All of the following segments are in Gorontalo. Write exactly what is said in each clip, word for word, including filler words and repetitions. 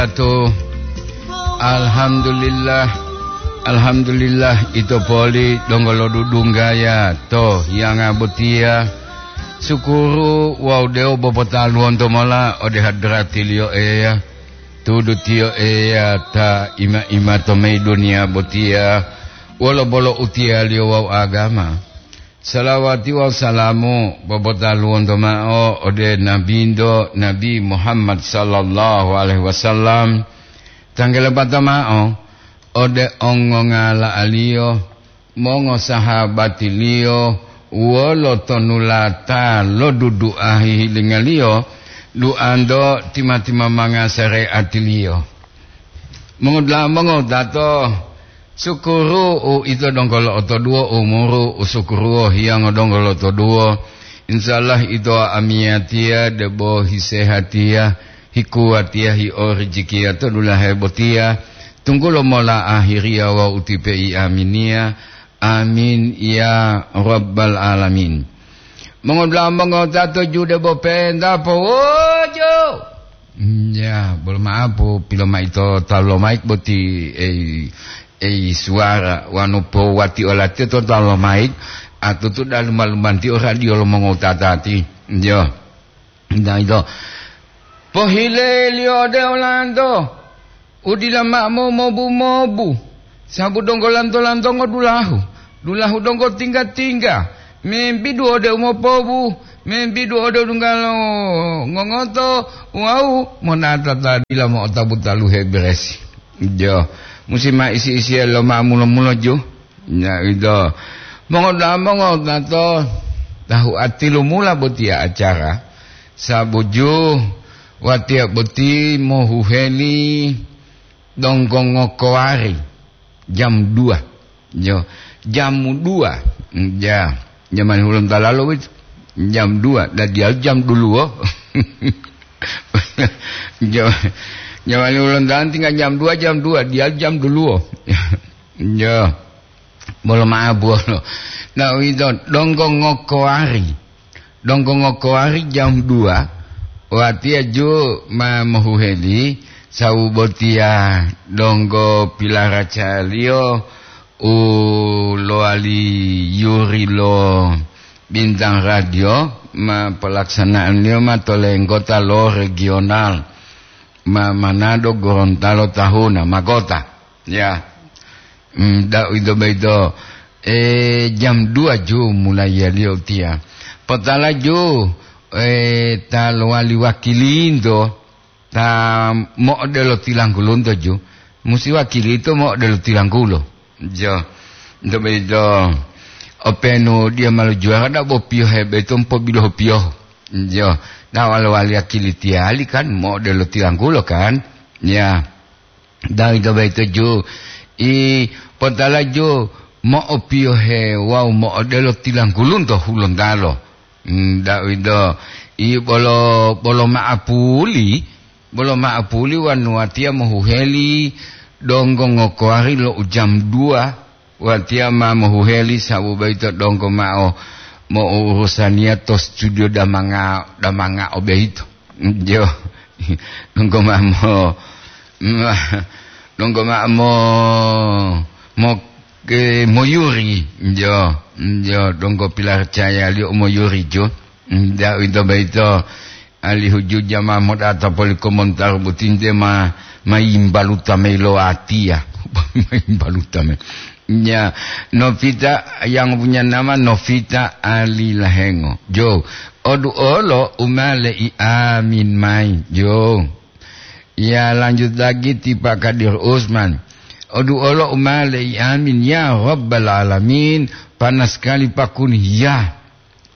Atu, alhamdulillah, alhamdulillah, ito poli donggo lodudunggaya to hiyanga botiya. Sukuru wawu dewo bopotaluwonto mola ode hadratiliyo Eya. Tudu tiyo Eya ta ima-ima to mayi duniya botiya wolo bolo utiyaliyo wawu agama. Salawati wawu salamu popotaluwonto mao ode Nabinto, Nabi Muhammad sallallahu alaihi wasallam, tanggelapata mao ode ongongala'aliyo, mongosahabatiliyo, wolo tonulata lo dudu'a hihilingaliyo, duanto tima-timamanga sareatiliyo. Mongodula'a mongowutato, sukuru u ito donggo lo'otoduwo umuru, u sukuruwo hiyongo donggo lo'otoduwo. Insya Allah ito amiyatiya debo hisehatiya, hikuwatiya, hiorijikiya to dulahe botiya, tunggulo mola ahiriya wawu utipe'i aminiya. Amin ya rabbal alamin. Mongodula'a mongowutato jude bo penta powojo. Ya, bolo ma'apu, pilomaito talu lomaik boti, ei, ei, suwara, wanu powati olatiyo to talu lomaik, atutu daluma-lumantiyo radio lo mongowutatati. Yo, nta ito. Pohileliyo ode olanto, udila ma'o mobu-mobu, sabu donggo lanto-lantongo dulahu, dulahu donggo tingga-tingga, membidu ode umopobu, membidu ode dungga lo ngongoto, wawu monata ta dila mo'otapu taluhe beresi. Jo, musi ma isi-isiya lo ma mulo-mulo ju. Ya, ito. Mongoda'a mongowutato, tahu atilumula botiya acara, sabu ju watiya boti mohuheli donggo ngokowari jam dua. Yo, jam dua. Ya, jamani Hulontalo boyito. Jam dua, dan dia jam duluwo. Jam, jamani Hulontalo tinggal jam dua, jam dua, dia jam duluwo. Ya, bolo ma'abu bolo. Nah, itu donggo ngokowari. Donggo ngokowari jam dua, watiya ju ma mohuheli, sawu botiya donggo pilaracaliyo u lowali yuri lo Bintang Radio ma palaksanaanliyo ma to lenggota lo regional ma Manado Gorontalo tahuna magota. Ya. Hmm, da uwito boyito, eh, jam dua ju mulayiyaliyo utiya. Potala ju, eh, ta lowali wakilinto, ta mo'odelo tilanggulunto ju, musi wakilito mo'odelo tilanggulo. Jo, nto boyito, openu dia ma lojuwara da bo piyohe boyito mopobilohu piyohu. Jo, ta walo wali wakilitiyali kan mo'odelo tilanggulo kan. Ya. Dawito boyito ju, i potala ju mo'opiyohe wawu mo'odelo tilanggulunto Hulontalo. Hmm, dawito, i bolo, bolo ma'apuli, bolo ma'apuli wanu watiya mohuheli donggo ngokowari lo u jam dua, watiya ma mohuheli sabu boyito donggo ma'o mo'urusaniya to studio damanga, damanga o boyito. Jo, donggo ma'o mo, donggo ma'o mo, mo, ke, moyuri. Jo, jo, donggo pilaracayaliyo u moyuri jo. Dawito boyito, alihu ju jama moda'a to poli komontar botinte ma, ma yimbaluta mayi lo watiya. Ma yimbaluta mayi. Ya, Novita yang punya nama Novita Ali Lahengo. Jo, odu olo umale i amin mai. Jo. Ya, lanjut lagi ti Pak Kadir Usman. Odu olo umale i amin ya Rabbal Alamin. Panas sekali pakuni ya.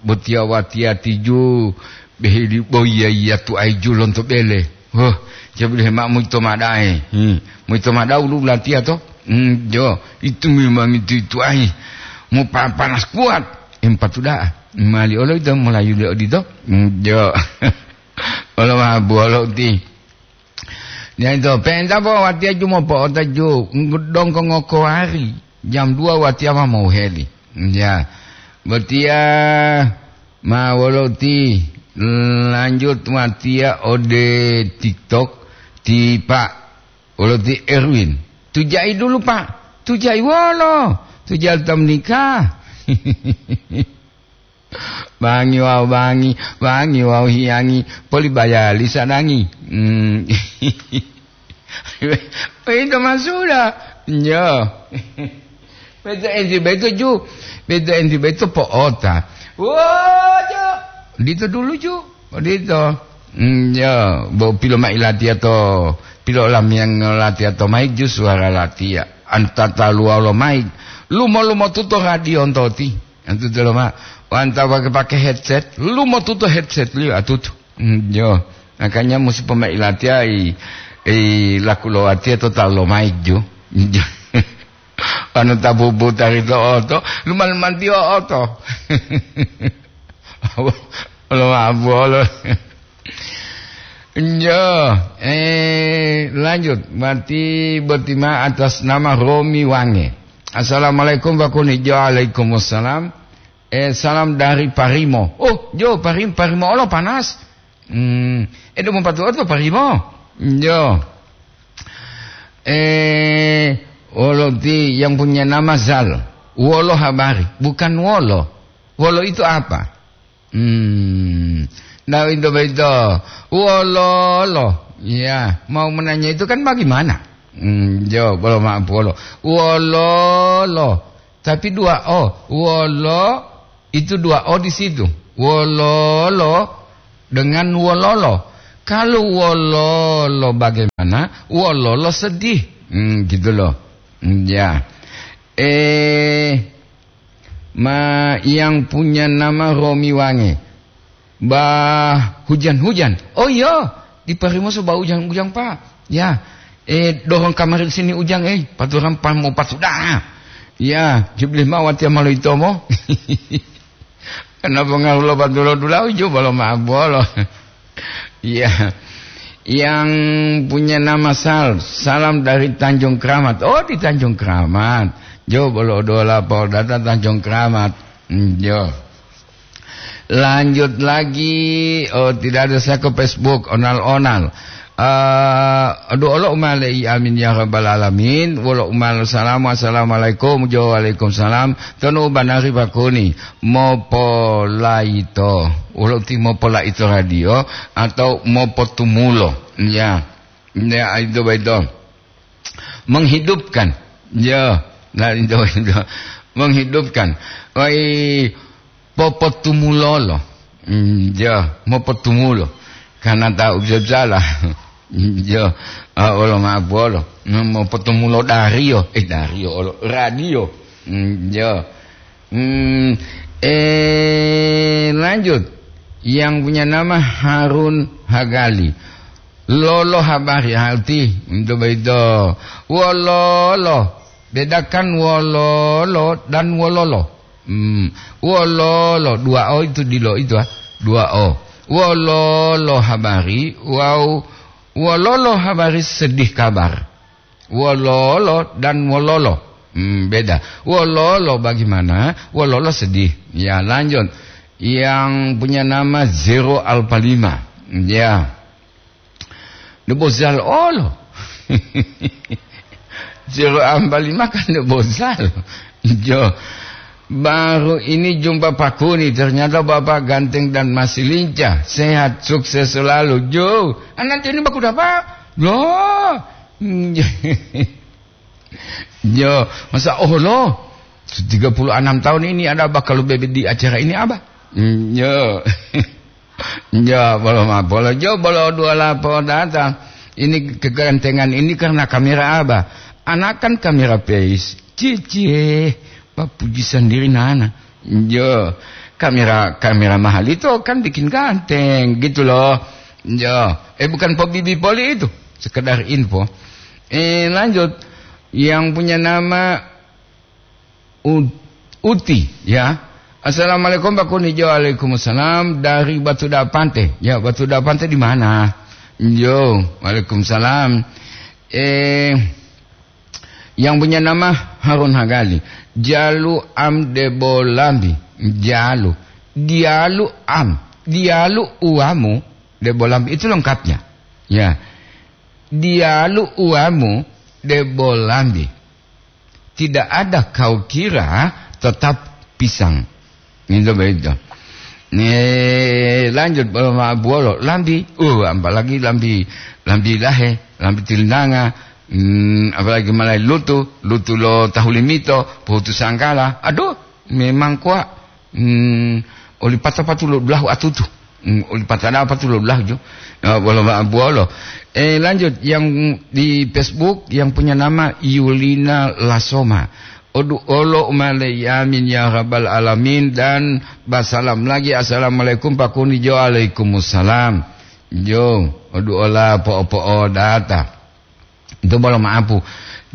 Botiya watiya tiju, beheli boyiya-yiya tuwayi ju lonto bele. Huh, jabu dehe ma'o moyito mao da'a, eh. Hmm, moyito mao da'a wulu latiya to? Hmm, jo, itu memang itu, itu ahi. Mo pa-, panas kuat. Empatu da'a. Mali olo ito molayuli odito? Hmm, jo. Olo mabu olo uti. Diyaito, pe'enta bo watiya ju mopo'ota ju, donggo ngokowari, jam dua watiya ma mohuheli. Ya, botiya ma wolo uti, lanjut watiya ode TikTok, Ti Pak, wolo ti Erwin. Tujai dulu, Pak. Tujai wolo? Tujai ta menikah. Bangi wawu bangi, bangi wawu hiyangi, poli bayali sadangi. Hmm. Ito masuda. Nyo. Beto enti beto ju. Beto enti beto po'ota. Wojo. Dito dulu ju. Odito. Hmm, ya, bo pilo mailatiya to, pilo lamiyang latiya to mai ju suwara latiya. Antata luwalo mai. Lumo-lumo tuto radio ntoti. Antu telo ma, wanta pake-pake headset, lumotuto headset liyo atutu. Mm, jo. Makanya musi pomai latiya i, i laku lo watiya to talu lo mic jo. Jo. Anu tabubu tari to oto, lumal manti oto. Lo mabolo. Jo, eh, lanjut. Berarti botima atas nama Romi Wange. Assalamualaikum, Pak Kuni. Jo, waalaikumsalam. Eh, salam dari Parimo. Oh, jo, Parim-, Parimo olo panas. Hmm, eh, demo patuo to Parimo. Jo. Eh, wolo ti yang punya nama Zal. Wolo habari, bukan wolo. Wolo itu apa? Hmm. Nah, itu begitu. Wolo, lo. Ya, mau menanya itu kan bagaimana? Hmm, jo, bolo maaf, wolo. Wolo, lo. Tapi dua O. Wolo, itu dua O di situ. Wololo dengan wololo. Kalau wololo bagaimana? Wololo sedih. Hmm, gitu loh. Hmm, ya. Eh, ma, yang punya nama Romi Wange. Bah, hujan-hujan. Oh iya, di Parimoso bah ujang-ujang, Pak. Ya, eh, dorong kamari sini ujang, eh, paturan pan mau patuda. Ya, jubli mawat ya malo itomo. Kenapa ngaruh lo patulo dulau, jo, bolo mabolo. Iya. Yang punya nama Sal, salam dari Tanjung Keramat. Oh, di Tanjung Keramat. Jo, bolo dola Polda Tanjung Keramat. Hmm, jo. Lanjut lagi, oh, tidak ada saya ke Facebook, onal-onal. Eh, aduh, Allah umale i amin ya rabbal alamin. Wolo umalo salamu, assalamualaikum, jo, waalaikumsalam. Tonu banari Pak Kuni, mopolaito. Wolo ti mopolaito radio atau mopotumulo. Ya. Ya, itu baito. Menghidupkan. Ya, nah, itu, itu. Menghidupkan. Wai, popotumulolo. Hmm, ya, mopotumulo. Karena tahu bisa salah. Ya, ah, olo mabolo. Hmm, mopotumulo dario. Eh, dario, olo radio. Hmm, ya. Hmm, eh, lanjut. Yang punya nama Harun Hagali. Lolo habari hati untuk begitu. Wololo. Bedakan wololo dan wololo. Hmm. Wololo, dua O itu di lo itu, ah. Dua O. Wololo habari, wau. Wololo habari sedih kabar. Wololo dan wololo. Hmm, beda. Wololo bagaimana? Wololo sedih. Ya, lanjut. Yang punya nama Zero Alpha lima. Ya. Nebozal olo. Zero Alpha lima kan nebozal. Jo. Baru ini jumpa Pak Kuni, ternyata Bapak ganteng dan masih lincah, sehat, sukses selalu. Jo, anak ini baku dapat. Loh. Jo, masa oh lo, tiga puluh enam tahun ini ada apa kalau bebe di acara ini apa? Hmm, jo. Jo, bolo mapolo, jo, bolo dua lapo data. Ini kegantengan ini karena kamera apa? Anak kan kamera face. Cicie, papuji sendiri nana. Jo, kamera, kamera mahal itu kan bikin ganteng gitu loh. Jo, eh, bukan pobibi poli itu, sekedar info. Eh, lanjut. Yang punya nama U-, Uti, ya. Assalamualaikum, Pak Kuni. Jo, waalaikumsalam dari Batu Dapante. Ya, Batu Dapante di mana? Jo, waalaikumsalam. Eh, yang punya nama Harun Hagali. Jalu am debo lambi. Jalu. Dialu am. Dialu uamu debo lambi. Itu lengkapnya. Ya. Diyalu uwamu debo lambi. Tidak ada kau kira tetap pisang. Gitu begitu. Nih, lanjut bolo ma-, bolo lambi. Uh, apalagi lambi, lambi lahe, lambi tilinanga. Hmm, apalagi malai lutu, lutu lo tahu limito, pohutu sangkala. Aduh, memang kuat. Hmm, oli pata patu lo dulahu atutu. Hmm, oli pata da patu lo dulahu jo. Ya, bolo ma-, bolo. Eh, lanjut yang di Facebook yang punya nama Yulina Lasoma. Odu olo umale yamin ya rabbal alamin dan basalam lagi, "Assalamualaikum Pak Kuni." Jo, "Alaikumussalam." Jo, odu ola po'o-po'o data. Itu bolo maapu.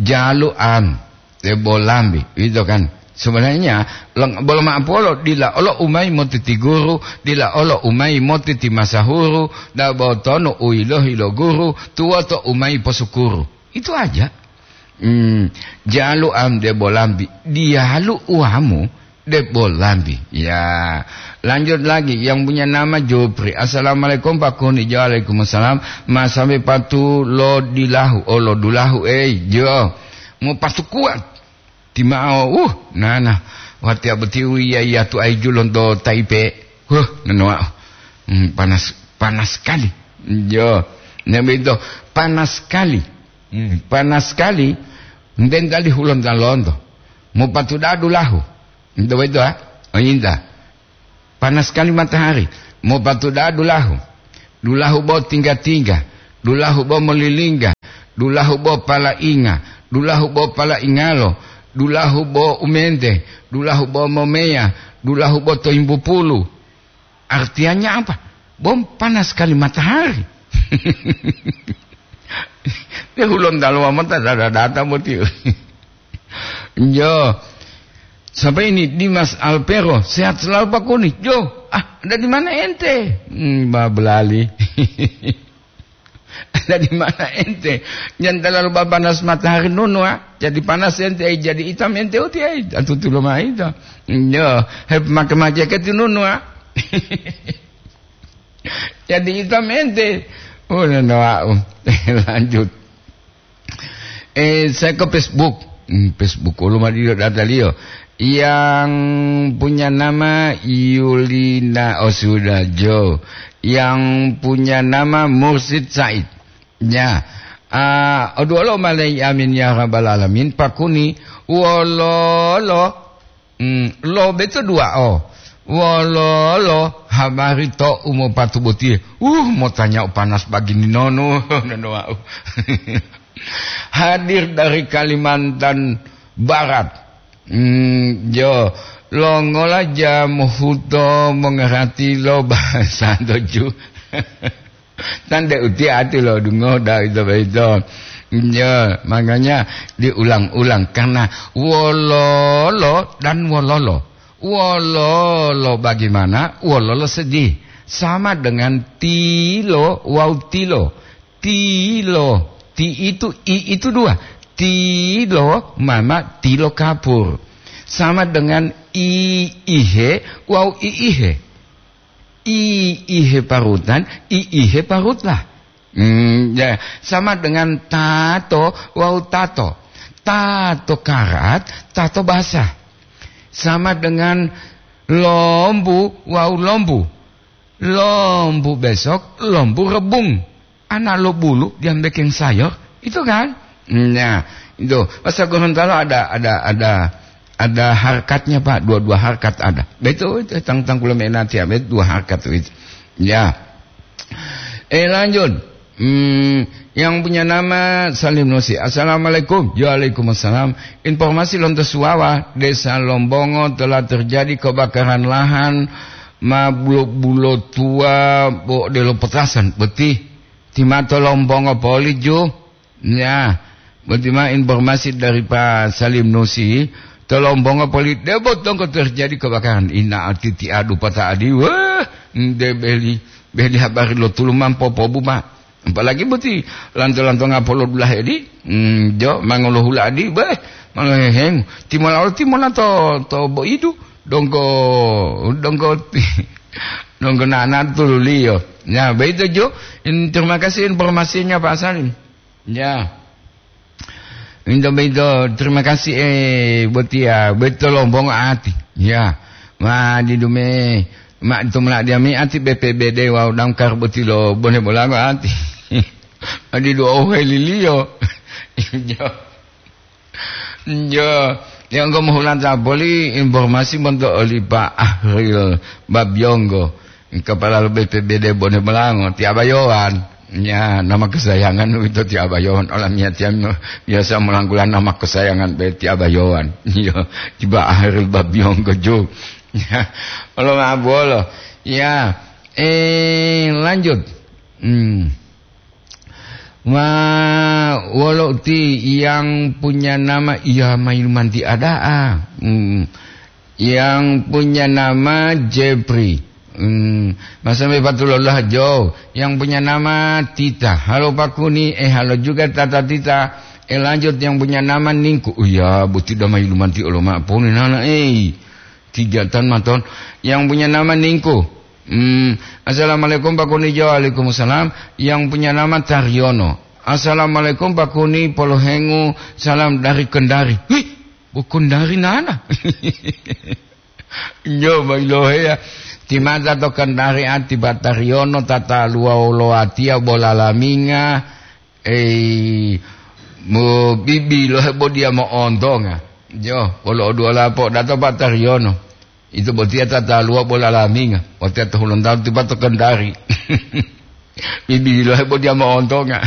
Jalu am, debo lambi, gitu kan. Sebenarnya, leng-, bolo maapu olo, dila olo umai motiti guru, dila olo umai motiti masahuru, dabo tonu uilohi lo guru, tuwoto umai posukuru. Itu aja. Hmm, jalu am debo lambi, diyalu uwamu debo lambi. Ya, lanjut lagi yang punya nama Jupri. "Assalamualaikum Pak Kuni." Jo, "Waalaikumsalam." "Ma sampai patu lo dilahu, oh, lo dulahu, eh, jo. Mau patu kuat. Timao, uh, nana. Watiya boti u iya, iya tu ai julon do Taipe. Huh, nanoa. Hmm, panas, panas sekali." Jo, nabi itu panas sekali. Hmm, panas sekali. Enten tadi hulon ta lonto. Mau patu da dulahu. Ento begitu, ha? Oh, inta. Panas sekali matahari. Mau patu da dulahu. Dulahu bo tingga-tingga. Dulahu bo molilingga. Dulahu bo palainga. Dulahu bo palaingalo. Dulahu bo umente. Dulahu bo momeya. Dulahu bo toimbupulu. Artinya apa? Bom panas sekali matahari. Dia hulon dalo mata dada data boti. Jo. Sampai ini Dimas Alpero, sehat selalu Pak Kuni. Jo, ah, ada di mana ente? Hmm, ba belali. Ada di mana ente? Jangan terlalu panas matahari nunu, ah. Jadi panas ente, eh, jadi hitam ente uti, eh. Atutu lo mai to. Jo, hep make-make ke tu nunu, ah. Jadi hitam ente. Oh, no, no, ah. Lanjut. Eh, saya ke Facebook. Hmm, Facebook, kalau mau dilihat data liyo. Yang punya nama Yulina, oh, sudah, Jo. Yang punya nama Mursid Said. Ya. Ah, oduolo malai amin ya rabbal alamin, Pak Kuni, wololo, hmm, lo beto dua o. Wololo habari to umopatu botiye. Uh, motanya panas bagini nono, nono wau. Hadir dari Kalimantan Barat. Hmm, jo, longola jam huto mengerti lo bahasa doju. Tande uti ati lo dungo da itu, itu. Ya, makanya diulang-ulang karena wololo dan wololo. Wololo bagaimana? Wololo sedih. Sama dengan tilo wau tilo. Tilo. Ti itu, i itu dua. Tilo mama tilo kapur. Sama dengan i ihe wau i ihe. I ihe parutan, i ihe parutlah. Hmm, ya, sama dengan tato wau tato. Tato karat, tato basah. Sama dengan lombu wau lombu. Lombu besok, lombu rebung. Anak lo bulu, dia bikin sayur, itu kan? Nah, itu. Bahasa Gorontalo ada, ada, ada, ada harkatnya, Pak. Dua-dua harkat ada. Betul, itu tentang kula menati, ya, betul, dua harkat itu. Ya. Eh, lanjut. Hmm, yang punya nama Salim Nusi. Assalamualaikum. Waalaikumsalam. Informasi lonto Suwawa, Desa Lombongo telah terjadi kebakaran lahan ma bulo-bulo tua bo delo petasan. Beti. Timato Lombongo poli ju. Ya, boti ma informasi dari Pak Salim Nusi, to Lombongo poli debo tongko terjadi kebakaran. Ina atiti adu pata adi, wah, nde beli, beli habari lo tulu mampo pobu ma. Apalagi boti lanto-lanto ngapolo dulahe di, hmm, jo, mangolo hula adi, beh, mangolo heheng. Timola, timola to, to boidu, dongko, dongko, dongko nana tululiyo. Ya, begitu jo. In-, terima kasih informasinya Pak Salim. Ya. Minto beito, terima kasih, eh, botia, beito lombongo ati. Ya. Ma didume, ma tumula diami ati B P B D wau damkar botilo bone bolango ati. Adi dua ohe lilio. Ya. Yo, yanggo mohulanta boli informasi monto oli Pak Ahril Babyonggo, kepala lo B P B D Bone Bolango, ti Abayowan. Ya, nama kesayangan uwito ti Abayowan. Olamiyatiya biasa molanggulan nama kesayangan be ti Abayowan. Yo, ti Pak Ahril Babyonggo jo. Ya, olo ma'abuwolo. Ya, eh, lanjut. Hmm. Wa-, wolo uti yang punya nama, iya, Mayumanti ada'a. Hmm. Yang punya nama Jepri. Hmm. Masa me patulolah jo. Yang punya nama Tita. Halo Pakuni, eh, halo juga Tata Tita. Eh, lanjut yang punya nama Ningku. Oh iya, buti da Mayumanti olo ma'apuni nana, eh. Tiga tan maton. Yang punya nama Ningku. Hmm, "Assalamualaikum, Pak Kuni." Jo, "Waalaikumsalam." Yang punya nama Taryono. "Assalamualaikum, Pak Kuni, polohengu salam dari Kendari." Wih, bu Kendari nana. Jo, bailohe ya. Timata to Kendari ati Pak Taryono, tata luwa wolo atiya bola laminga. Ei, mo bibi lo hebo dia mo'ontonga. Jo, wolo oduola po'odato Pak Taryono. Ito botiya tataluwa bola laminga. Watiya to Hulontalo tipa to Kendari. Bibi lo hebo dia mo'ontonga.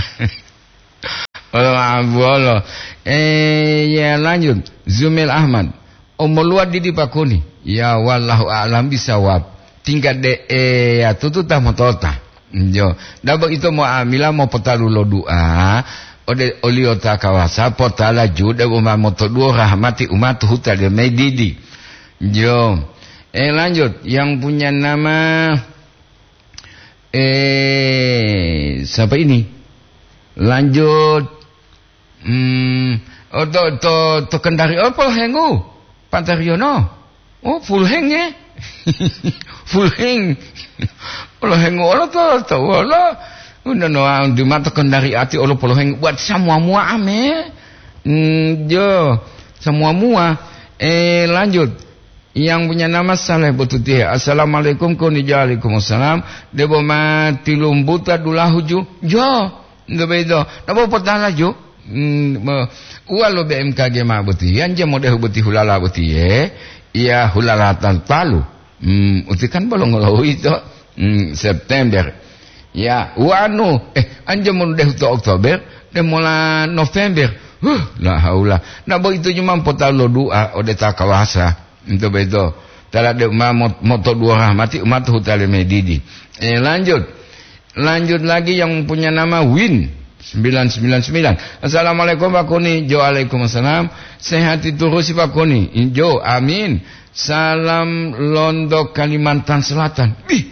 Wolo abuwolo. Eh, ya lanjut. Zumil Ahmad. Omoluwa didi Pakuni. Ya, wallahu a'lam bisawab. Tingkat de, eh, ya, tutu ta motota. Jo, dabo ito mo'amila mopotalu lo du'a ode oliyo ta kawasa, potala ju debo ma motoduwo rahmati umatu huta de medidi. Jo. Eh, lanjut, yang punya nama, eh, siapa ini? Lanjut. Hmm, oh, to, to, to Kendari, oh, polohengu, Pak Taryono. Oh, puluheng, eh? Puluheng. Polohengu olo to, to wolo. Udah no, di mata Kendari ati olo polohengu buat semua mua ame. Hmm, jo, semua mua. Eh, lanjut. Yang punya nama Saleh Botutihe. "Assalamualaikum, Kuni." Jo, "Waalaikumsalam." Debo ma tilumbuta dulahu ju. Jo. Nto boyito, nabo potala jo. Hmm, mo-, uwa lo B M K G ma boti, yanja modehu boti hulala boti, ye. Iya, hulala talu-talu. Hmm, uti kan bolongo lo uwito. Hmm, September. Ya, wanu, eh, anja modehu to Oktober, de mola November. Huh, la haula. Nabo ito cuma potalu lo du'a ode ta kawasa. Nto boyito, tala de ma mot-, moto duwo rahmati umatu hutale medidi. Eh, lanjut. Lanjut lagi yang punya nama Win sembilan sembilan sembilan. "Assalamualaikum, Pak Kuni." Jo, "Waalaikumsalam." "Sehati turusi, Pak Kuni." Jo, "Amin." "Salam londo Kalimantan Selatan." Ih,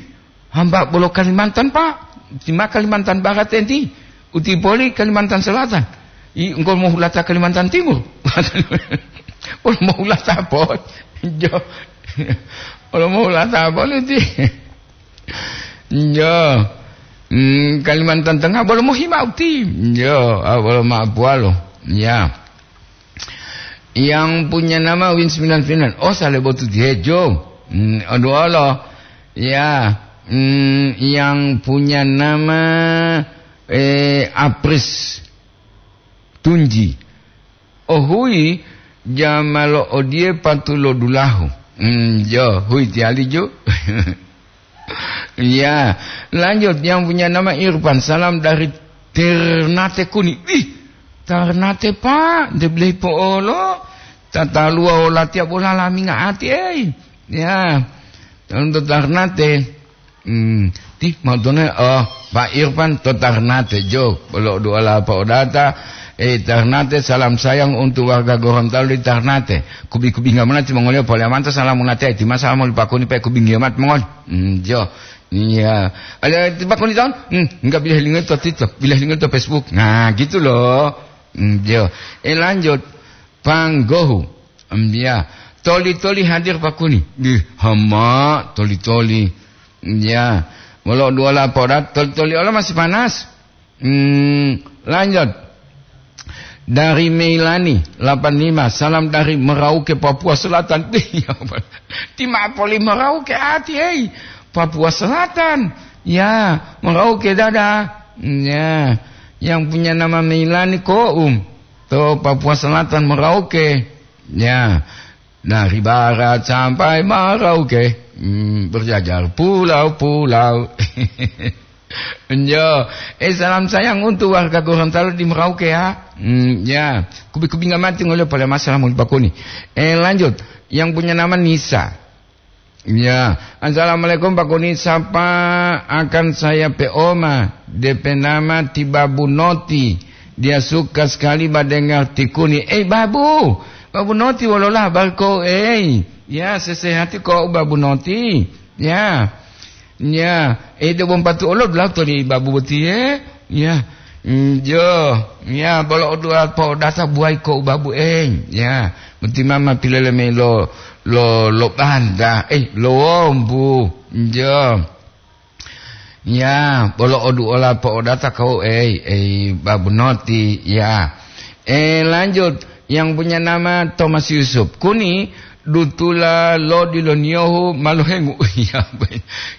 hamba bolo Kalimantan, Pak. Tima Kalimantan Barat enti. Uti poli Kalimantan Selatan. I, engko mohulata Kalimantan Timur. Wolo mohulata poli. Jo. Wolo mohulata poli ti. Jo. Hmm, Kalimantan Tengah bolo mohima uti. Jo, ah, bolo ma puwalo. Ya. Yang punya nama Win sembilan sembilan. Oh, sale botu diejo. Hmm, aduh Allah. Ya. Hmm, yang punya nama, eh, Apris Tunji. Oh, hui, jamalo odie patulo dulahu. Hmm, jo, hui tiali ju. Ya, lanjut yang punya nama Irfan. "Salam dari Ternate Kuni." Ih, Ternate, Pak, de blei po'olo. Tataluwa wolatiya bola laminga ati, ei. Ya, untuk Ternate. Hmm, ti, mautone, oh, Pak Irfan to Ternate, jo. Bolo duala po'odata. Eh, Ternate, salam sayang untuk warga Gorontalo di Ternate. Kubi-kubi ngamana ti mongoliyo pole amanta salam munate, ti ma salam moli Pak Kuni pe kubi ngiyo mat mongol. Hmm, jo. Iya. Ada tiba kuni tahun? Hmm, enggak, bilih lingo to TikTok, bilih lingo to Facebook. Nah, gitu loh. Hmm, jo. Eh, lanjut. Panggohu. Hmm, ya. Toli-toli hadir Pak Kuni. Di hama toli-toli. Hmm, ya. Walau dua laporan, toli-toli Allah masih panas. Hmm, lanjut. Dari Meilani, delapan lima, salam dari Merauke, Papua Selatan. Iya, Pak. Ti ma'o poli Merauke ati, hei. Papua Selatan. Ya, Merauke dada. Ya, yang punya nama Meilani Koum. To Papua Selatan, Merauke. Ya, dari barat sampai Merauke. Hmm, berjajar pulau-pulau. Enjo. Eh, salam sayang untuk warga Gorontalo di Merauke, ya. Hmm, ya. Kubi-kubi ngamati ngolio pada masalah mau dipakuni. Eh, lanjut. Yang punya nama Nisa. Ya. "Assalamualaikum, Pak Kuni. Sapa akan saya pe oma? D P nama ti Babu Noti. Dia suka sekali mendengar ti Kuni." Eh, Babu. Babu Noti, wolola habari ko, eh? Ya, sesehati ko, Babu Noti. Ya. Ya, eh, debo mpatu olo dulato li Babu boti, eh? Ya. Njo, ya, bolo odua po'odata buwai ko u Babu, eh? Ya, boti mama pilele mayi lo, lo, lo banta, eh, lo wombu. Njo. Ya, bolo oduola po'odata kau, eh, eh, Babu Noti, ya. Eh, lanjut, yang punya nama Thomas Yusuf. Kuni, dutula lo diloniyohu ma lohengu. Iya,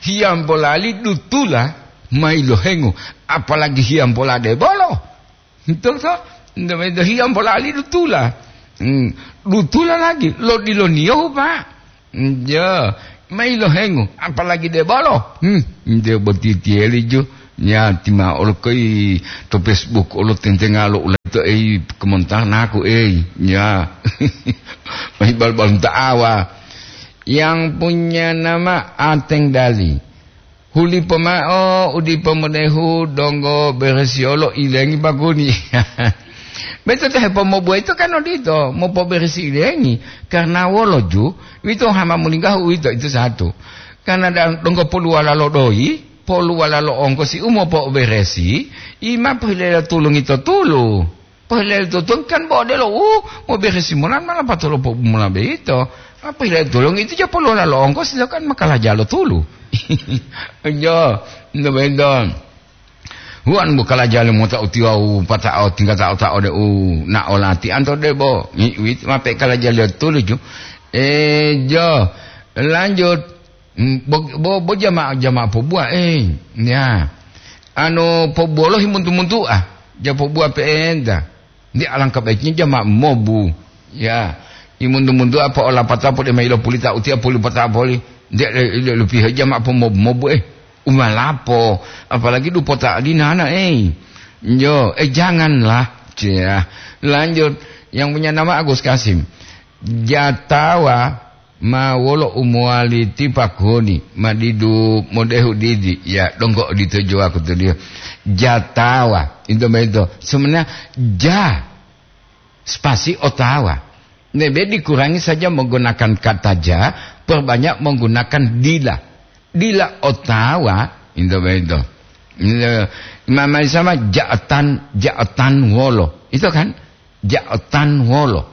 hiyambolali dutula ma yilohengu, apalagi hiyambola debolo. Betul, toh? Nde, nde hiyambolali dutula. Hmm, dutula lagi, lo diloniyohu, Pak. Njo, ma yilohengu, apalagi debolo. Hmm, nde boti tiyeli ju. Nya, ti ma'o olo koi to Facebook olo tentenga lo ulato ei kemontanaku ei. Nya. Mai bal-balunta awa. Yang punya nama Ateng Dali. Hulipo ma'o u dipo modehu donggo beresiyolo ilengi bakuni. Beto te hepomobuwa ito kan odito, mopoberesi ilengi. Karena wolo ju, wito hama mulinggahu uwito, itu satu. Karena da-, donggo poluwala lo doyi, poluwala lo ongkosi u mopoberesi, ima pohilelo tulungi to tulu. Pohilelo to tulungi kan bo odelo u moberesi mola ma lapatolo pobu mola beito. Ma pohilelo tulungi itu ja poluwala lo ongkosi to kan makalaja lo tulu. Jo, no beto. Huan bukala jali mota utiwau pata'o tingga ta'o-ta'o de u na'o lati'anto debo. Ngi-, wit-, mape kala jali tuluju. Eh, jo, lanjut. Mm, bo, bo, bo jama-, jama'a pobuwa, eh, ya. Anu, pobuwolohi muntu-muntu'a, ja pobuwa pe'enta. Nde alangkah baiknya jama mobu. Ya, imuntu-muntu apa olapata pode mailo pulita utia puli pata poli. Nde le, le, le piha jama apa mobu-mobu, eh. Umalapo, apalagi dupota adinana, eh. Yo, eh, janganlah. Cia. Lanjut, yang punya nama Agus Kasim. Jatawa ma wolo u mowali tipakoni, ma didu modehu didi, ya, donggo odito jowaku to dia. Jatawa, itu begitu. Sebenarnya ja, spasi otawa. Nebe dikurangi saja menggunakan kata ja, perbanyak menggunakan dila. Dila otawa, itu begitu. Mama sama jaatan, jaatan wolo. Itu kan? Jaatan wolo.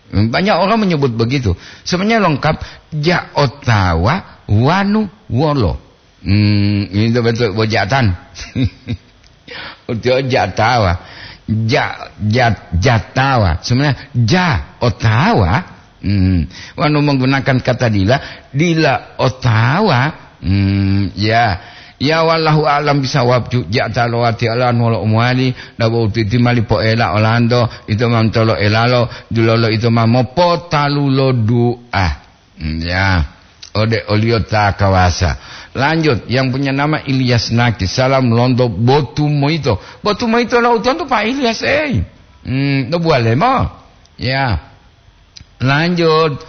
Banyak orang menyebut begitu. Sebenarnya lengkap, ja otawa wanu wolo. Hmm, itu betul, bojatan. Uti jatawa. Ja, ja, jatawa. Sebenarnya ja otawa. Hmm, wanu menggunakan kata dila, dila otawa. Hmm, ya. Ya, wallahu a'lam bisawab, ju-, ja talowati alan wala umwali, dabo utiti mali poela olando, itu mantolo elalo, dulolo itu ma mopotalulo du'a. Hmm, ya. Ode oliyo ta kawasa. Lanjut, yang punya nama Ilyas Naki. Salam lonto Botu Moito. Botu Moito lo utonto Pak Ilyas, eh. Hmm, no buale mo. Ya. Lanjut.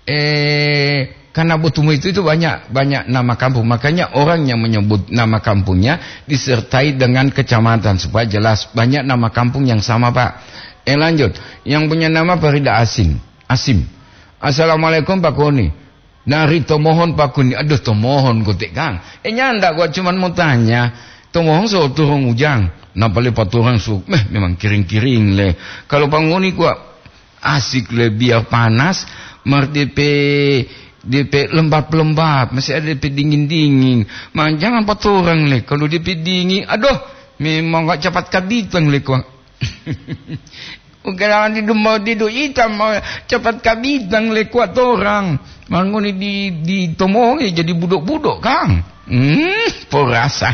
Eh, karena Botumo itu, itu banyak, banyak nama kampung. Makanya orang yang menyebut nama kampungnya disertai dengan kecamatan supaya jelas. Banyak nama kampung yang sama, Pak. Eh, lanjut. Yang punya nama Farida Asin. Asim. "Assalamualaikum, Pak Koni." "Nari tomohon, Pak Koni." Aduh, tomohon kote, Kang. Eh, nyanda gua cuman mau tanya. Tomohon so turun ujang. Napale paturang su, meh, memang kiring-kiring le. Kalau Pak Ngoni gua asik le, biar panas, mar depe, depe lembab-lembab, masih ada depe dingin-dingin. Ma, jangan paturang le, kalau depe dingin, aduh, memang nggak cepat kabitang le, Kang. Ugalawani dumodidu ita ma cepat kabitang le kuat orang. Mangoni di, di tomongi jadi budok-budok, Kang. Hmm, porasa.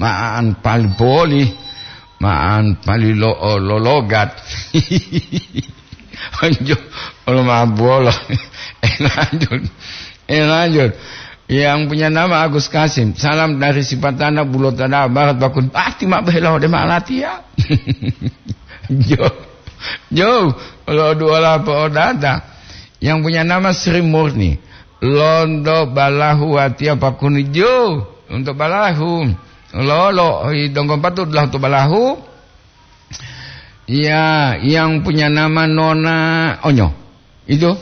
Maan pali poli. Maan pali lo, lologat. Anjo, olo mabolo. Eh, lanjut. Eh, lanjut. Yang punya nama Agus Kasim. Salam dari Sipatana, Bulotada Barat, Bakun. Pasti mak behelo de malatia. Jo. Jo, kalau dua lapa odata. Yang punya nama Sri Murni. Londo Balahu, Watia Pakuni. Jo, untuk Balahu. Lolo, i donggo patut lah untuk Balahu. Ya, yang punya nama Nona Onyo. Itu.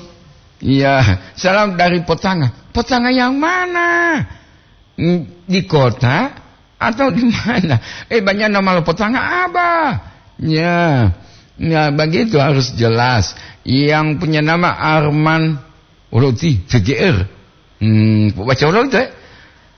Ya, salam dari Potanga. Potanga yang mana? Mm, di kota atau di mana? Eh, banyak nama lo Potanga, Abah. Ya. Ya, begitu harus jelas. Yang punya nama Arman Uloti, V G R. Hmm, baca ulang itu, eh.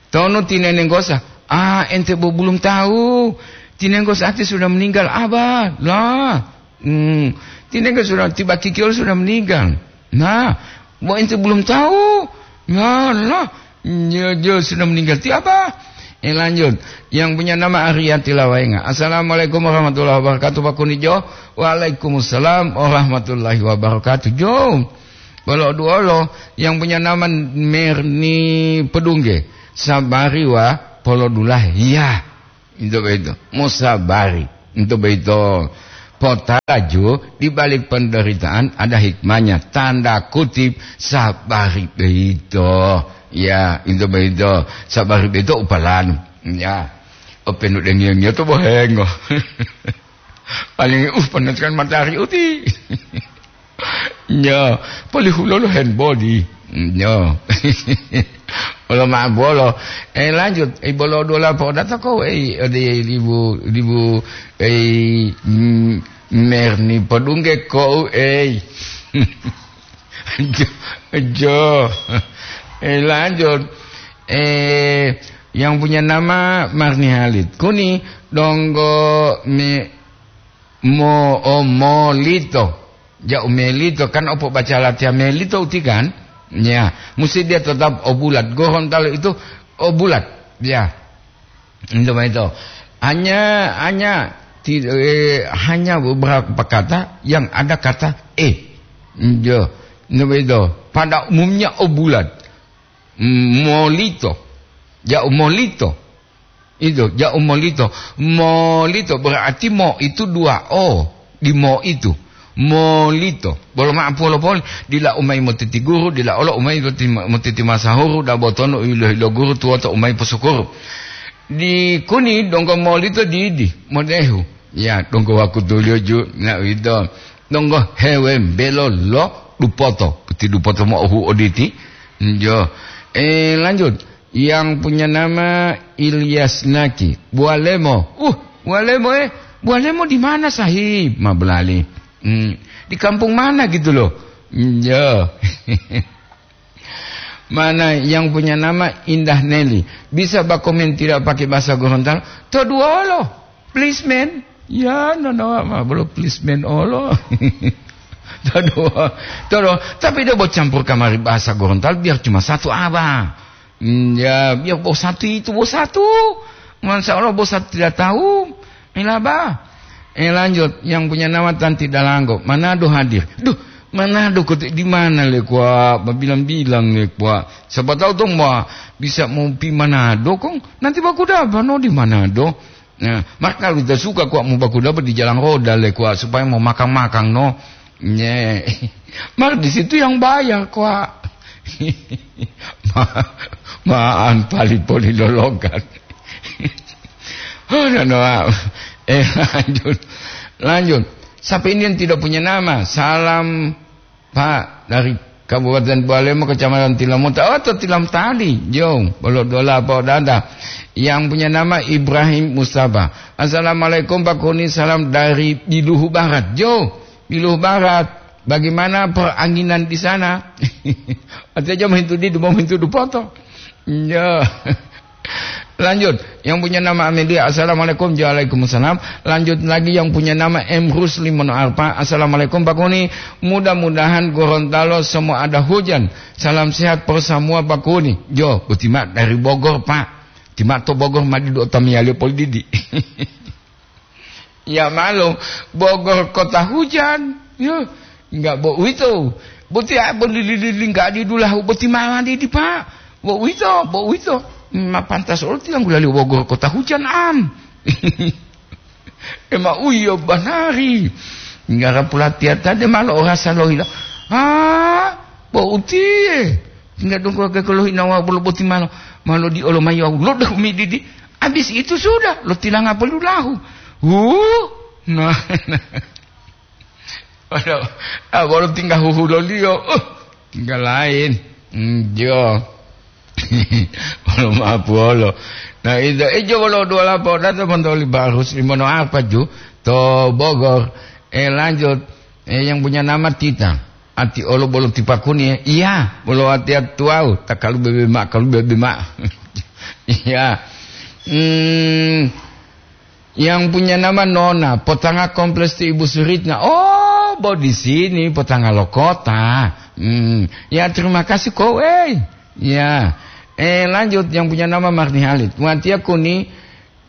Tono tinenggosa. Ah, ente bo belum tahu. Tinenggosa ati sudah meninggal, Abah. Lah. Hmm, tinenggosa sudah tiba kikil sudah meninggal. Nah, bo ente belum tahu. Ya lah. Ya, dia sudah meninggal. Tiapa? Eh, lanjut. Yang punya nama Ariyati Lawainga. Assalamualaikum warahmatullahi wabarakatuh, Pak Kunijo. Waalaikumsalam warahmatullahi wabarakatuh. Jo. Bolo duolo yang punya nama Merni Pedungge. Sabari wa polodulahe. Iya. Itu begitu. Musabari. Itu begitu. Potalaju di balik penderitaan ada hikmahnya. Tanda kutip, sabari beito. Ya, itu beito. Sabari beito upalan. Ya. Openu dengiyo-ngiyo to bohengo. Paling, uh, panaskan matahari uti. Nyo, polihulolo hand body. Nyo. Olo ma'abolo. Eh, lanjut. Eh, bolo dola po data ko, eh, ode libu, libu, eh, mm, Merni Podungge ko, eh. Jo, jo. Eh, lanjut. Eh, yang punya nama Marni Halid. Kuni donggo me, mo, oh, molito. Ja'u melito, kan opo baca latihan melito uti kan? Ya, mesti dia tetap obulat. Gorontalo itu obulat. Ya. Itu itu. Hanya, hanya ti-, eh, hanya beberapa kata yang ada kata e. Yo. Itu itu. Pada umumnya obulat. Molito. Ja'u molito. Itu, ja'u molito. Molito berarti mo itu dua o di mo itu. Molito. Bolo ma'apolo poli, dila umai motiti guru, dila olo umai motiti, motiti masahuru, dabo tonu ilo-ilo guru tuwoto umai posukuru. Di kuni donggo molito didi, modehu. Ya, donggo wakutuliyo ju, na uwito. Donggo hewembelo lo dupoto. Puti dupoto mo'ohu oditi. Njo. Eh, lanjut. Yang punya nama Ilyas Naki. Bualemo. Uh, Bualemo, eh. Bualemo di mana, Sahib? Ma belali. Hmm. Di kampung mana gitu loh? Njo. Mana yang punya nama Indah Nelly? Bisa ba komen tidak pakai bahasa Gorontalo? To duolo. Policeman. Ya, no, no, ma, belum policeman olo. To duo, to duo. Tapi dia mau campur kamari bahasa Gorontalo biar cuma satu abang. Hmm, ya, biar bos satu itu, bos satu. Masya Allah, bos satu tidak tahu. Ilaba. Eh, lanjut. Yang punya nama Tanti Dalanggo. Manado hadir. Duh, Manado kok di mana le kwa? Bilang-bilang le kwa. Siapa tahu dong, wah, bisa mau pi Manado kong. Nanti baku dapat no di Manado. Nah, maka kita suka kwa mau baku dapat di jalan roda le kwa, supaya mau makan-makan no. Nye. Mar di situ yang bayar kwa. Ma-, maan pali poli lologan. Oh, no, no. Eh, lanjut. Lanjut. Sampai ini yang tidak punya nama. Salam, Pak, dari Kabupaten Bualemo, Kecamatan Tilamota. Oh, atau Tilam tadi. Jo, bolo dola apa dada. Yang punya nama Ibrahim Mustafa. Assalamualaikum, Pak Kuni. Salam dari Biluhu Barat. Jo, Biluhu Barat. Bagaimana peranginan di sana? Artinya dia menghintu di, mau menghintu di foto. Ya. Lanjut, yang punya nama Amelia, "Assalamualaikum." "Waalaikumsalam." Lanjut lagi, yang punya nama M Rusli Mono Arpa, "Assalamualaikum, Pak Kuni. Mudah-mudahan Gorontalo semua ada hujan. Salam sehat persamua, Pak Kuni." Jo, boti ma dari Bogor, Pak. Tima to Bogor ma didu otamiyaliyo poli didi. Ya maklum, Bogor kota hujan. Yo, enggak bo uwito. Boti a bo lili-lili enggak didulahu boti ma didi, Pak. Bo uwito, bo uwito. Ma pantas olo tiyanggu lali Bogor kota hujan am. Ema uyo banari. Ngara pulatiyata de malo orasa lohila. Ah, bo utiye. Tinggal dongko ke kolo hinawa bolo boti malo. Malo di olo mayo lo dahumi didi. Habis itu sudah, lo tilanga polulahu. Huh? Nah. Waduh, ah, bolo tinggal huhuloliyo. Uh, tinggal lain. Hmm, jo. Bolo mapuolo. Nah, itu, eh, jo, bolo dua lapo, data montoli barus, limono apa, ju? To Bogor. Eh, lanjut. Eh, yang punya nama Tita. Ati olo bolo tipakuni, eh. Iya, bolo ati atuau. Tak kalu bebe mak, kalu bebe mak. Iya. Hmm, yang punya nama Nona, potanga kompleks ti Ibu Suritna. Oh, bo di sini, potanga lo kota. Hmm, ya, terima kasih, kowe. Ya. Eh, lanjut, yang punya nama Marni Halid. Watia Kuni,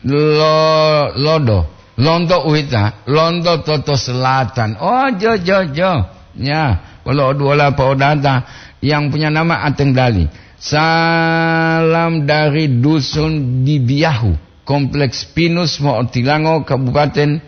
lo-, Lodo. Lonto uwita, Lonto Toto Selatan. Oh, jo, jo, jo. Ya, wolo oduwola po'odata, yang punya nama Ateng Dali. Salam dari Dusun Bibiyahu, Kompleks Pinus, Mo'otilango, Kabupaten,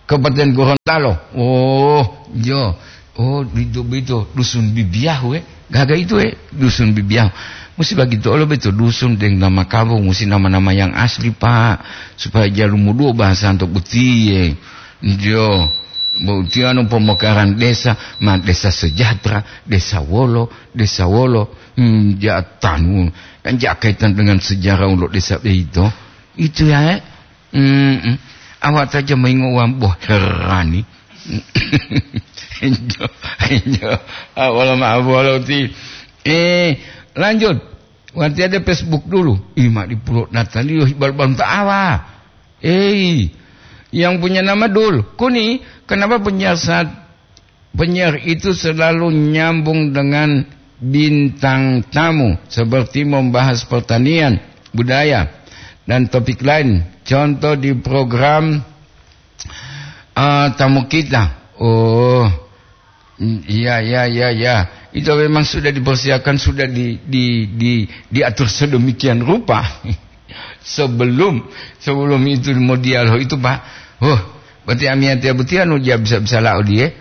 Kabupaten Gorontalo. Oh, jo. Oh, bito, bito, Dusun Bibiyahu, eh. Gaga itu, eh, Dusun Bibiyahu. Musi bagito olo beto dusun deng nama kampung, musi nama-nama yang asli, Pak, supaya jalumuduwo bahasa anto butiye. Jo, butiye anu pemekaran desa, ma desa sejahtera, desa wolo, desa wolo. Hmm, ja tanu, kan ja kaitan dengan sejarah ulo desa beito. Itu ya, eh. Mm-mm. Awak saja maingo wambo herani. Injo, injo. Ah, wala maaf, wala uti. Eh, lanjut. Wanti ada Facebook dulu. Ih, mak di pulo Nataliyo, hibal-bal ta'awa. Eh, yang punya nama Dul. Kuni, kenapa penyiar saat penyiar itu selalu nyambung dengan bintang tamu, seperti membahas pertanian, budaya, dan topik lain. Contoh di program, eh, tamu kita. Oh, iya, iya, iya, iya. Itu memang sudah dipersiapkan, sudah di, di, di, diatur sedemikian rupa. Sebelum, sebelum itu mau dialog itu, Pak. Oh, berarti amiyatiya boti anu ja bisa-bisa lao diye.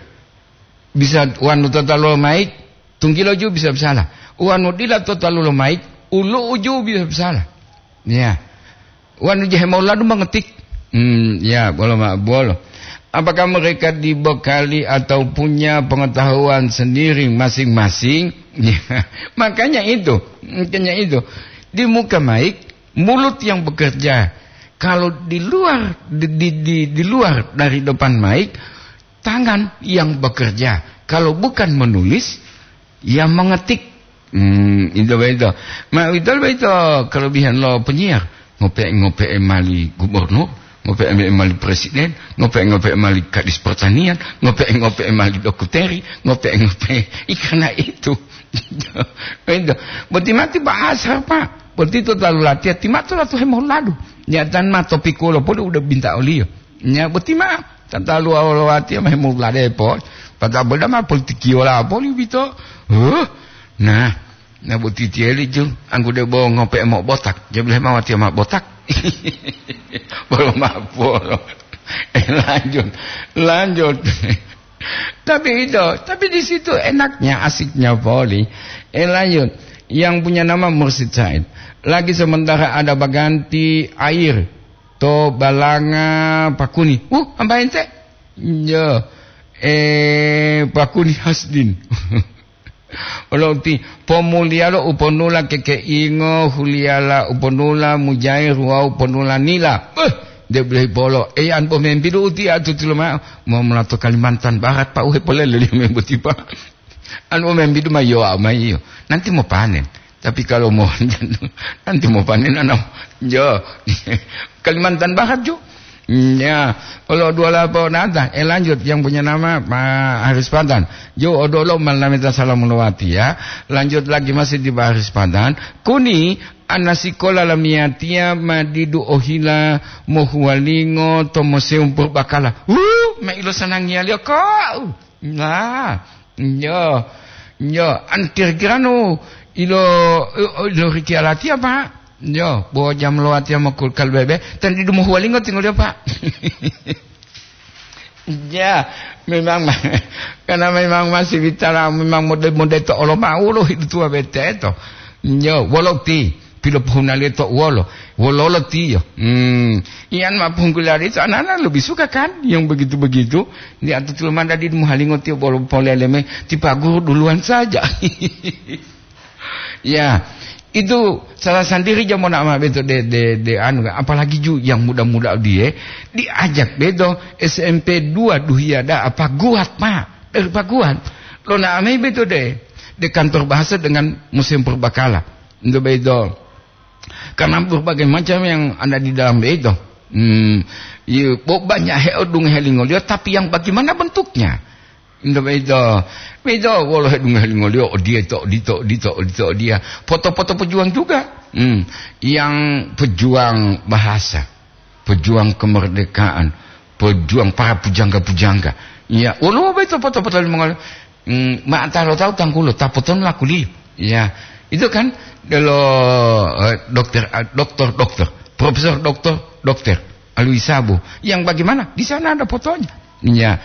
Bisa wanu tota lo maik, tunggilo ju bisa bisala. Wanu dila tota lo maik, ulu uju bisa bisala. Ya. Wanu je hemoladu mengetik. Hmm, ya, bolo ma-, bolo. Apakah mereka dibekali atau punya pengetahuan sendiri masing-masing? Ya. Makanya itu, makanya itu. Di muka maik, mulut yang bekerja. Kalau di luar, di, di, di, di luar dari depan maik, tangan yang bekerja. Kalau bukan menulis, ya mengetik. Hmm, itu begitu. Ma, itu begitu kelebihan lo penyiar. Ngope-ngope mali gubernur, ngope-ngope mali presiden, ngope-ngope mali kadis pertanian, ngope-ngope mali dokuteri, ngope-ngope. Ih, karena itu. Itu. Berarti mati bahasa, Pak. Berarti itu terlalu latihan. Timatu latu hemoladu. Nyatan ma topik wolo pun udah minta olio. Nya boti ma, tatalu awolowati ma hemulade poli. Pata boda ma politiki wala poli bito. Huh? Nah, na boti tieli ju, anggude bo ngope mo botak. Jebule ma wati ma botak. Bolo ma bolo. Eh, lanjut. Lanjut. Tapi itu, tapi di situ enaknya, asiknya poli. Eh, lanjut. Yang punya nama Mursid Said. Lagi sementara ada baganti air. To balanga pakuni. Uh, ambaente? Yo. Eh, pakuni hasdin. Olo uti, pomuliyalo uponula kekeingo, huliyala uponula mujair wawu ponula nila. Eh, de bulahi polo. Eh, an pomembidu uti atutulo ma'o. Mo molato Kalimantan Barat, Pak, uhe polele liyo membotipa. An pomembidu ma yowa ma iyo. Nanti mo panen. Tapi kalau mau nanti mau panen, anak, yo, Kalimantan Barat, Jo. Ya, kalau dua lapor nata, eh, lanjut, yang punya nama Pak Haris Pantan. Jo, odolo malameta salam lowati, ya. Lanjut lagi, masih di Pak Haris Pantan. Kuni, ana sikola lamiyatiya ma didu ohila mohuwalingo to Museum Purbakala. Uh, ma ilo sanangiyaliyo kok. Nah, yo, yo, antir kiranu ilo, ilo riki alatiya, Pak. Yo, bo jam lo atiya mokul kalbebe, tan didu mohuwalingo tingoliyo, Pak. Ya, memang, karena memang masih bicara memang mode-mode to olo mau lo hidup tua bete to. Yo, wolo ti, pilopohunaliyo to wolo, wololo tiyo. Hmm, iyan ma punggulari to anana lebih suka kan yang begitu-begitu. Di atutul manda di mohalingo tiyo bolo poleleme, ti Pak Guru duluan saja. Ya, itu salah sendiri jamona ama beto de, de, de anu, apalagi ju yang muda-muda dia diajak beto S M P dua duhia da apa guat, Pak, dari Pak Guat. Lo na amai beto de, de kantor bahasa dengan Museum Purbakala. Itu beto. Karena berbagai macam yang ada di dalam beto. Hmm, iya, bo banyak heodungohe lingoliyo, tapi yang bagaimana bentuknya? Ento beito, beito wolo hedungohe lingoliyo, odiye to, odito, odito, odito, odiya. Foto-foto pejuang juga. Hmm. Yang pejuang bahasa, pejuang kemerdekaan, pejuang para pujangga-pujangga. Ya, wolo beito foto-foto limongoliyo. Hmm, ma anta lo tahu tanggulo, ta potonu lakuliyo. Ya, itu kan delo, eh, dokter, eh, dokter, dokter, profesor dokter, dokter Alwi Sabo. Yang bagaimana? Di sana ada fotonya. Ya,